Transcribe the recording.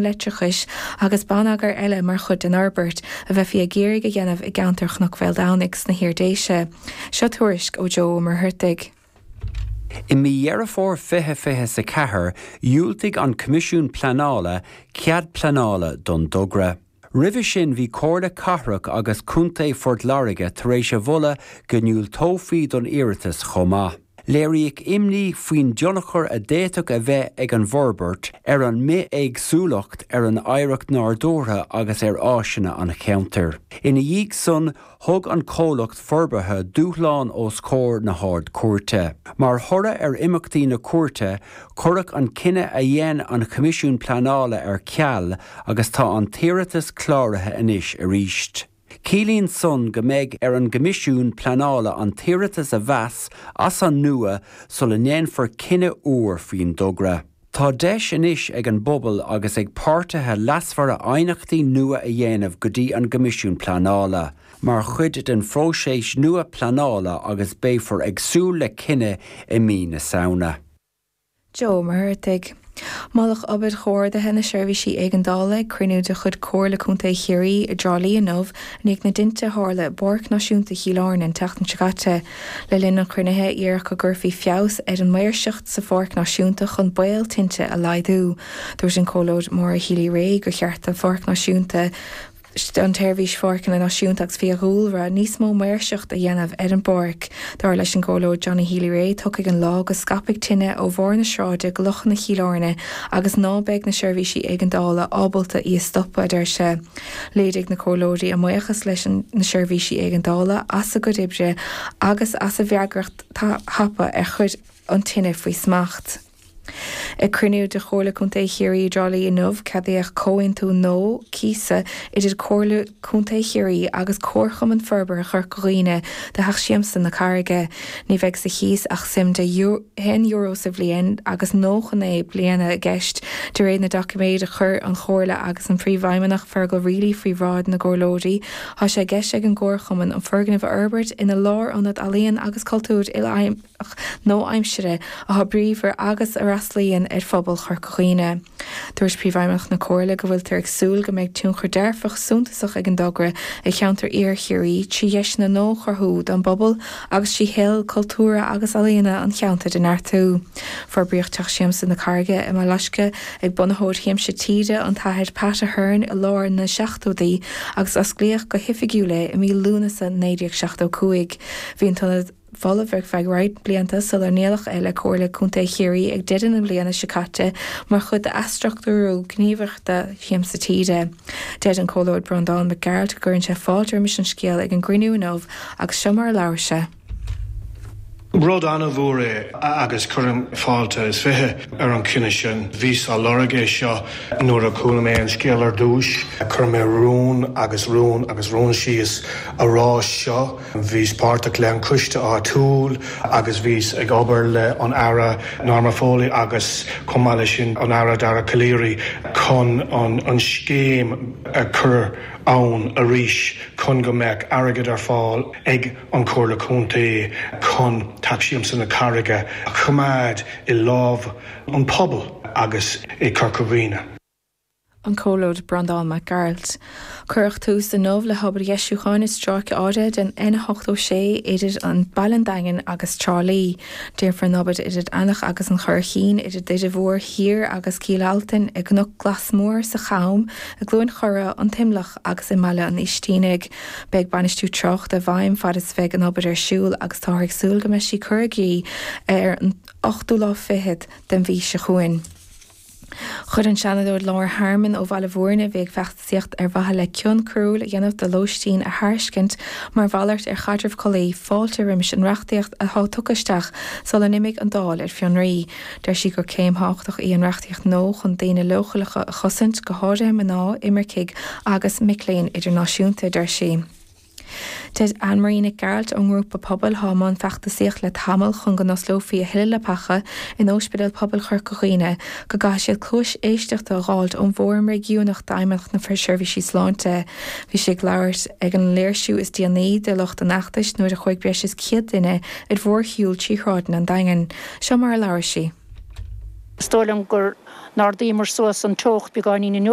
Leictreachais agus bonneagar eile mar chuid den fhorbairt a bheifí ag iarraidh a dhéanamh i gceantar Chnoc Bhéal Domhnaigh sna hIar-Déise. Seo tuairisc ó Joe Ó Muircheartaigh. I mí Dheireadh Fómhair 2024, dhiúltaigh an Coimisiún Pleanála cead pleanála don dtogra. Roimhe sin bhí Comhairle Cathrach agus Contae Phort Láirge tar éis a mholadh go ndiúltófaí don iarratas chomh maith. Léiríodh imní faoin dtionchar a d'fhéadfadh a bheith ag an bhforbairt ar an mbithéagsúlacht, ar an oidhreacht nádúrtha agus ar áiseanna an cheantair. Ina dhiaidh san, thug an comhlacht forbartha dúshlán os comhair na hArd-Chúirte. Mar thoradh ar imeachtaí na cúirte, cuireadh an cinneadh a dhein an Choimisiún Pleanála ar ceal agus tá an t-iarratas cláraithe anois arís. Ciallaíonn san go mbeidh ar an gCoimisiún Pleanála an t-iarratas a mheas as an nua sula ndéanfar cinneadh úr faoin dtogra. Tá deis anois ag an bpobal agus ag páirtithe leasmhara aighneachtaí nua a dhéanamh go dtí an gCoimisiún Pleanála mar chuid den phróiseas nua pleanála agus beifear ag súil le cinneadh i mí na Samhna. Joe Ó Muircheartaigh. Moladh obair chomhordaithe na seirbhísí éigeandála ag cruinniú de chuid Comhairle Contae Chiarraí i dTrá Lí inniu i ndiaidh na dtinte a tharla i bPáirc Náisiúnta Chill Airne an tseachtain seo caite. Le linn an chruinnithe, iarradh go gcuirfí feabhas ar an maoirseacht sa pháirc náisiúnta chun baol tinte a laghdú. Dúirt an Comhairleoir Maura Healy-Rae gur cheart don Pháirc Náisiúnta, don tSeirbhís Pháirceanna Náisiúnta agus Fiadhúlra níos mó maoirseacht a dhéanamh ar an bpáirc. Dar leis an gComhairleoir Johnny Healy-Rae, tiocfaidh an lá go scaipfidh tine ó bharr na sráide go lochanna Chill Airne agus ná beidh na seirbhísí éigeandála ábalta í a stopadh, a deir sé. Léirigh na comhairleoirí a mbuíochas leis na seirbhísí éigeandála as a gcuid oibre agus as a bhfreagracht thapa ar chuir an tine faoi smacht. Ag cruinniú de Chomhairle Contae Chiarraí i dTrá Lí inniu, ceadaíodh comhaontú nua cíosa idir Comhairle Contae Chiarraí agus Comharchumann Forbartha Chorca Dhuibhne do Theach Siamsa na Carraige. Ní bheidh sa chíos ach suim de €1 sa bhliain agus 99 bliana i gceist, de réir na doiciméad a chuir an Chomhairle agus an Príomhfheidhmeannach Fergal Reilly faoi bhráid na gComhairleoirí. Tá sé i gceist ag an gComharchumann an foirgneamh a fhorbairt ina lárionad ealaíon agus cultúir nua-aimseartha atá bríomhar agus a fhreastalaíonn ar phobal Chorca Dhuibhne. Dúirt Príomhfheidhmeannach na Comhairle go bhfuiltear ag súil go mbeidh tionchar dearfach suntasach ag an dtogra ar cheantar Iarthar Chiarraí trí dheiseanna nua a chruthú don bpobal agus trí shaol cultúrtha agus ealaíona an cheantair a neartú. Forbraíodh Teach Siamsa na Carraige i mBaile Loiscthe ag bunaitheoir Shiamsa Tíre, an tAthair Pat Ahern i lár na seachtóidí agus osclaíodh go hoifigiúil é i mí Lúnasa 1975. Bhí an t-ionad. folamh ar feadh roinnt blianta sular ndíoladh é le Comhairle Contae Chiarraí ag deireadh na bliana seo caite mar chuid d'athstruchtúrú gníomhaireachta Shiamsa Tíre. Deir an Comhairleoir Breandán Mac Gearailt go gcuireann sé fáilte roimis an scéal ag an gcruinniú inniu agus seo mar a labhair sé. Rud an-mhór é agus cuirim fáilte is 20 ar an chinneadh sin. Bhíos á lorg é seo nuair a chuala mé an scéal ar dtús. Chuir mé rún agus rún agus rún síos a rá seo. Bhíos páirteach le an coiste áitiúil agus bhíos ag obair le an Aire Norma Foley agus chomh maith leis sin an Aire Dara Calleary chun an scéim a chur ann arís chun go mbeadh airgead ar fáil ag an Chomhairle Contae chun Teach Siamsa na Carraige a choimeád i lámh an pobail agus i Corca Dhuibhne. An Comhairleoir Breandán Mac Gearailt. Cuireadh tús inniu le hobair dheisiúcháin i stráice áirithe den N86 idir an Baile an Daingin agus Trá Lí. Déanfar an obair idir Eanach agus an Churraichín, idir Doire Mhór Thiar agus Cill Altain, i gCnoc Glas Mór, sa Cham, i gCluain Chora, an T-Imleach agus i mBaile an Oistínigh. Beidh bainistiú tráchta i bhfeidhm fad is a bheidh an obair ar siúl agus táthar ag súil go mbeidh sí curtha i gcrích ar an ochtú lá fichead den mhí seo chugainn. Chuir an Seanadóir Laura Harmon ó Bhaile Bhúirne, a bhí ag feachtasaíocht ar mhaithe le cion coiriúil a dhéanamh de lóistín a thairiscint mar mhalairt ar chaidreamh collaí, fáilte roimis an reachtaíocht atá tugtha isteach sula n-imigh an Dáil ar fionraí. Deir sí gur céim thábhachtach í an reachtaíocht nua chun daoine leochaileacha a chosaint, go háirithe mná, imircigh agus mic léinn idirnáisiúnta, a deir sí. Deir Anne Marie Nic Gearailt ón ngrúpa pobail thá i mbun feachtasaíocht le tamall chun go n-osclófaí a thuilleadh leapacha in Óispidéal Pobail Chorca Dhuibhne go gcaithfidh siad cluais éisteachta a dh'fháilt ón bhFóram Réigiúnach d'Fheidhmeannacht na Seirbhísí Sláinte. Bhí sí ag labhairt ag an léirsiú is déanaí de lucht an fheachtais nuair a chuaigh breis is 100 duine ar mhórshiúl trí shráideanna an Daingin. Seo mar a labhair sí. Is dóigh liom gur n-ardaíomar suas an teocht beagáinín inniu.